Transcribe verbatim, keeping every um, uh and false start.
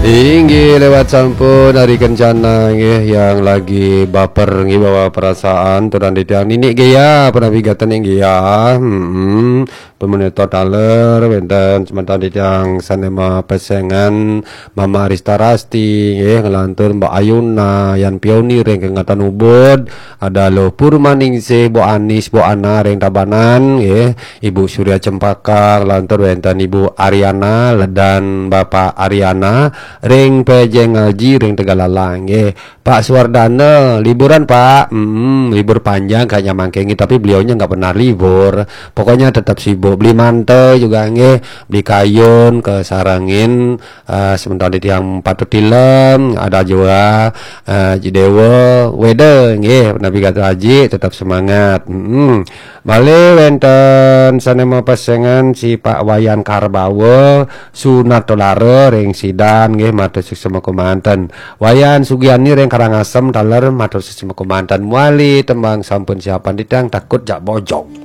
Inggih lewat sampun Ari Kencana nggih, yang lagi baper nggih, bawa perasaan, turan titiang Ninik Gea, penawi gaten nggih ya. Hmm. Pemeneto taler wenten semeton titiang sane mapesengan Mama Arista Rasti nggih, ngelantur Mbak Ayuna, Yan Pioni ring kengatan Ubud, ada Lo Purmaningsih, Bu Anis, Bu Ana ring Tabanan nggih, Ibu Surya Cempaka, lantur wenten Ibu Ariana, Ledan Bapak Ariana, ring Pejeng Ngaji, ring Tegalalang nggih. Pak Suwardana, liburan Pak? Hmm, libur panjang kayaknya mangke nggih, tapi beliaunya nggak pernah libur. Pokoknya tetap sibuk. Beli mantel juga nggih, beli kayun, kesarengin, eh, sementara tiang patut tilem, ada juga, eh, Ji Dewa, Weda nggih, Nabi Gatra Haji, tetap semangat. Hmm. Malih wenten sane mapesengan si Pak Wayan Karbawa, Sunat Tolara ring Sidan nggih, matur suksma kemanten. Wayan Sugiani ring Karangasem taler, matur suksma kemanten. Muali tembang sampun siapan titiang, takut jak bojong.